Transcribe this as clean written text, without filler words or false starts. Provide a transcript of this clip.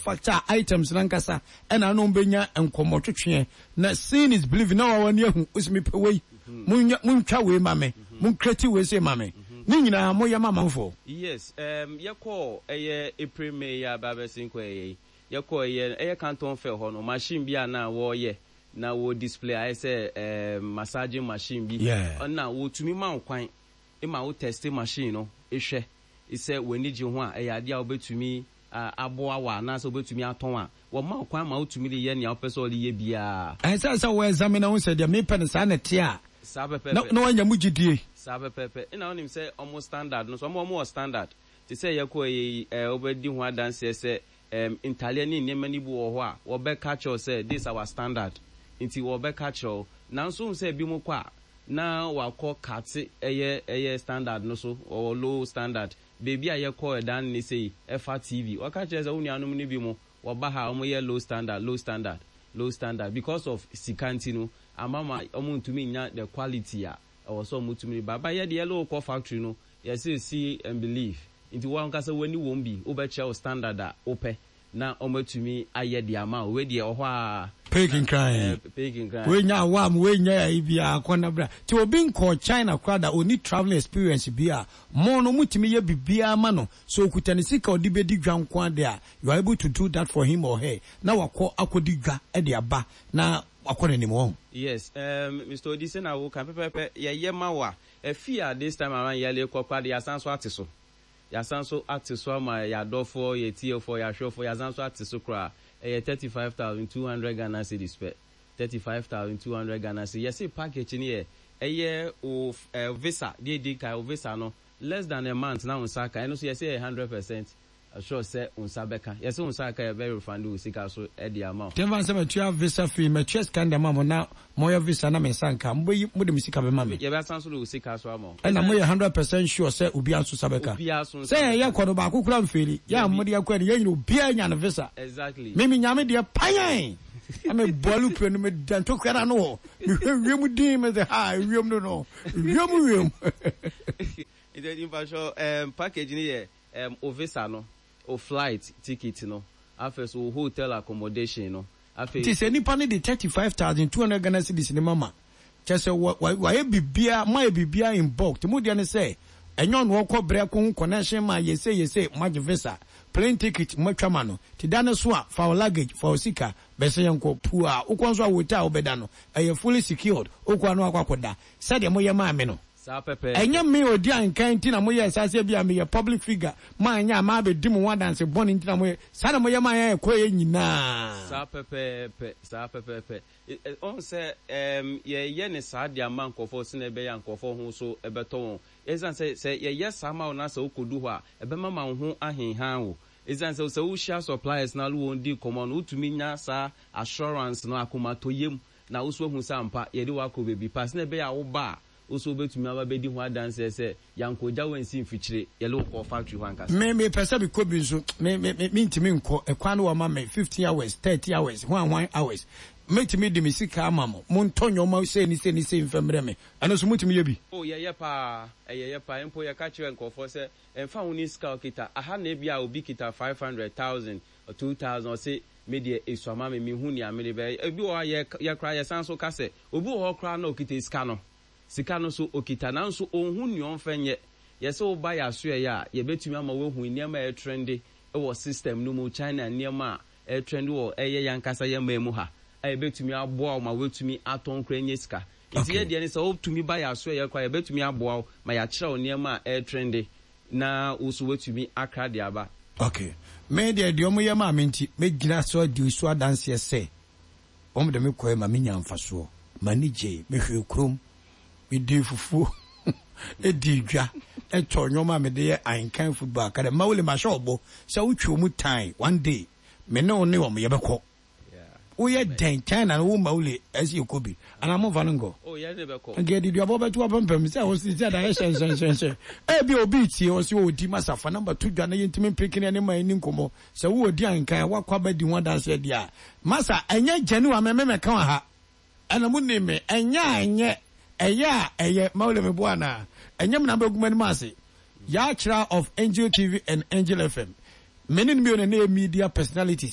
manufacture items no ankasa ɛna ne wɔn bɛnya nkɔmmɔtwetweɛ na seeing is believing na wawa ani ahu wosi mepɛ wei monyɛ montwa wei ma me monkreti wei sei ma me ne nyinaa moyɛ ma amanfoɔ. Yes, um, yɛkɔɔ ɛyɛ April May yi a aba abɛsen kɔ ɛyɛ yi, yɛkɔɔ ɛyɛ ɛyɛ Canton Fair hɔ no, machine bi a na wɔreyɛ na wɔ display ayɛ sɛ um, massaging machine bi, Yeah. ɛna wɔtumi ma wo kwan ma wo teste machine no hwɛ sɛ w'ani gye ho a, ɛyɛ adeɛ a wobɛtumi aboa wo anaasɛ wobɛtumi atɔn a, wɔma wo kwan ma wotumi de yɛ nea wopɛ sɛ wode yɛ biara. Ɛnsɛ sɛ wo examine hu sɛ deɛ mepɛ no saa na ɛteɛ a, Saa na pɛpɛɛpɛ. na woanya mu gyidie. Saa pɛpɛɛpɛ. Ɛna wonim sɛ wɔn standard no nso, wɔn wɔn wɔ standard. Te sɛ yɛkɔɔ yɛ yi, ɛɛ wobɛdi ho adanseɛ sɛ ɛɛm ntadeɛ ne nneɛma no bi wɔ hɔ a, wɔbɛka akyerɛ wo sɛ this our standard. Nti wɔbɛka akyerɛ wo. Nanso wohu sɛ ebinom kɔ a, na wakɔ kate ɛyɛ ɛyɛ standard no so, wɔwɔ low standard. Baabi a yɛkɔ ɛdan ne sei, ɛfa TV. Wɔka kyerɛ sɛ wo nuanom no bi mo, wɔba ha a wɔyɛ low standard, low standard, low standard. Because of sika nti no, ama ma wɔntumi nnya the quality a ɛwɔ sɛ wɔtumi de ba. But yɛ deɛ yɛne wo kɔ factory no, yɛse see and believe. Nti wo ankasa w'ani wom bi, wobɛkyerɛ wo standard a wopɛ. Na wɔatumi ayɛ de ama wo. Wei deɛ ɛwɔ hɔ ara. Pay kinkran. Pay kinkran. Wei nya awam, wei nya ayi biara kɔ na bra. Ti obi nkɔɔ China koraa da, ɔnni travelling experience bi a, mo no motumi yɛ biribiara ma no. Sɛ ɔkuta ne sika a ɔde bɛdi dwa nko ara deɛ a, you are able to do that for him or her. Na wakɔ akɔdi dwa de aba na wakɔ n'anim, wahu. Yes, um, Mister Odi, sɛnea woka no pɛpɛɛpɛ, yɛyɛ ma wo a, ɛfii a this time around yɛrekɔ koraa de, yɛasan nso ate so. Yɛasan nso ate so ama yɛn adɔfoɔ, yɛn atiefoɔ, yɛn ahwɛfoɔ, yɛasan nso ate so koraa. Ɛyɛ 35,200 Ghana cedis pɛ. 35,200 Ghana cedis. Yɛse package no yɛ, ɛyɛ wo eh, visa, deɛ ɛdi kan, wo visa no, less than a month na wo nsa aka. Ɛno nso yɛse ɛyɛ 100% sure sɛ wo nsa bɛka. Yɛse wo nsa aka a, yɛbɛ refund wo sika so de ama wo. Nti ɛmfa sɛ matua visa fee, matua sika no de ama mo na moyɛ visa na me nsa nka a, mobɛyi, mode me sika bɛma me? Yɛbɛsan nso de wo sika so ama wo. Ɛna moyɛ 100% sure sɛ obiara nso nsa bɛka? Obiara nso nsa Sɛ yɛn bɛka. yɛkɔ no baako koraa mfeeli, yɛn a Dabi. mode yɛkɔɛ no yɛn nyina obiara nya ne visa. Exactly. Me menya me deɛ panyan! Na mebɔ alupre no meda ntokua no ano hɔ, mehwɛ wiem dinn, mese haa ewiem no no, wiem wiem. Nti mpakyɛw ɛɛm package no yɛ Erm wo visa no, wo flight ticket no, afei so wo hotel accommodation no, afei. Nti sɛ nipa no de 35,200 Ghana cedis no ma ma, kyerɛ sɛ wa wa wayɛ biribiara, moayɛ biribiara in bulk, nti mo deɛ ne sɛ, ɛnyɛ ɔno ɔkɔ brɛ kɔhu connection man, yɛ sei yɛ sei, moagye visa, plane ticket moatwa ma no, nti da no so a, fa wo luggage, fa wo sika, bɛsɛ yɛnkɔ, puaa, wokɔ nso a hotel a wobɛda no, ɛyɛ fully secured, wokɔ a na wakɔ akɔda, sɛdeɛ moyɛ maa me no. Saa pɛpɛɛpɛ. Ɛnyɛ me a ɔdi anka nti na moyɛɛ saa sɛ ebia meyɛ public figure, moanyɛ a mabɛdi mo ho adanse bɔne nti na moyɛ saa na moyɛ maa yɛn a yɛkɔeɛ nyinaa. Saa pɛpɛɛpɛ, saa pɛpɛɛpɛ. Wohu sɛ, ɛɛm, yɛyɛ no saa de ama nkurɔfoɔ sɛdeɛ ɛbɛyɛ a nkurɔfoɔ ho so bɛtɔ wɔn. Ɛsiane sɛ, sɛ yɛyɛ saa ma wo na sɛ wokɔdu hɔ a, ɛbɛma ma wo ho ahenhan wo. Ɛsiane sɛ, sɛ wohyia suppliers na wone wɔn di nkɔmmɔ no, wotumi nya saa assurance no, akomatɔyam, na wo nso woahu sɛ ampa, yɛde wo akɔ baabi pa. Sɛdeɛ ɛbɛyɛ a woba a, Wo nso wobɛtumi aba abɛdi ho adanseɛ sɛ yɛankɔgya wo ansi mfikyire, yɛne wo kɔɔ factory hɔ ankasa. Me mepɛ sɛ mekɔ bi nso me me me mentumi nkɔ ɛkwan no wɔma me 15 hours 30 hours hwan hwan hours mɛtumi de me sika ama mo montɔ nnoɔma sei ne sei ne sei mfa mmerɛ me ɛno nso motumi yɛ bi? Oh yɛyɛ paa, ɛyɛyɛ paa, mpo yɛka kyerɛ nkurɔfoɔ sɛ ɛmfa ho ne sika a wokita, aha na ebia obi kita 500, thousand, 2000 ɔse me deɛ esua ma me, menhu nea mede bɛyɛ, ebi wɔ hɔ a yɛ yɛ koraa yɛsan nso ka sɛ Obi wɔ hɔ koraa na ɔkita sika no, sika no nso ɔkita nanso ɔnhu nea ɔmfa nyɛ. Yɛse woba yɛn asoɛeɛ a, yɛbɛtumi ama woahu nneɛma a ɛretrɛnde wɔ system no mu, China nneɛma a ɛretrɛnde wɔ ɛyɛ yɛn ankasa yɛn man mu ha a ɛbɛtumi aboa wo ma woatumi atɔn koraa anya sika. Nti yɛn deɛ ne sɛ wotumi ba yɛn asoɛeɛ koraa a, yɛbɛtumi aboa wo ma yɛakyerɛ wo nneɛma a ɛretrɛnde na wo nso woatumi akra de aba. Ok. Me deɛ, deɛ wɔyɛ maa me nti, mɛgyina so adi so adanseɛ sɛ Wɔde me kɔe ma minyaa mfasoɔ. M'ani gyei. Mehwɛɛ kurom. Medii fufuo, dii dwa, tɔɔ nneɛma a mede yɛ Ahenkan Football Academy. Mawuli, mahyɛ wo bɔ sɛ wotwe wɔn tan one day, me ne wo ne wɔn yɛbɛkɔ. Woyɛ dɛn? China no wo Mawuli ɛsɛ yɛkɔ bi anaa momfa no nkɔ? Nka yɛde duabɔ bɛto apampam sɛ wo sɛ da yɛ hyɛnhyɛnhyɛnhyɛn. Ebia obi retie ɔse ɔdi masa fa number to dwa na yɛntumi mpeke ne ma yɛnni nkɔmmɔ. Sɛ wo odi ankan a woakɔ abɛdi ho adanseɛ deɛ a, masa ɛnyɛ genuine me me mɛka wɔ ha. Ɛna mo nim me, ɛnyɛ a ɛnyɛ, ɛyɛ a ɛyɛ, Mawule me boa anaa? Ɛnyɛ me na mobɛgu m'anim ase. Yaa Kyerah of Angel TV and Angel FM. Me ne no mmienu na ɛyɛ media personalities.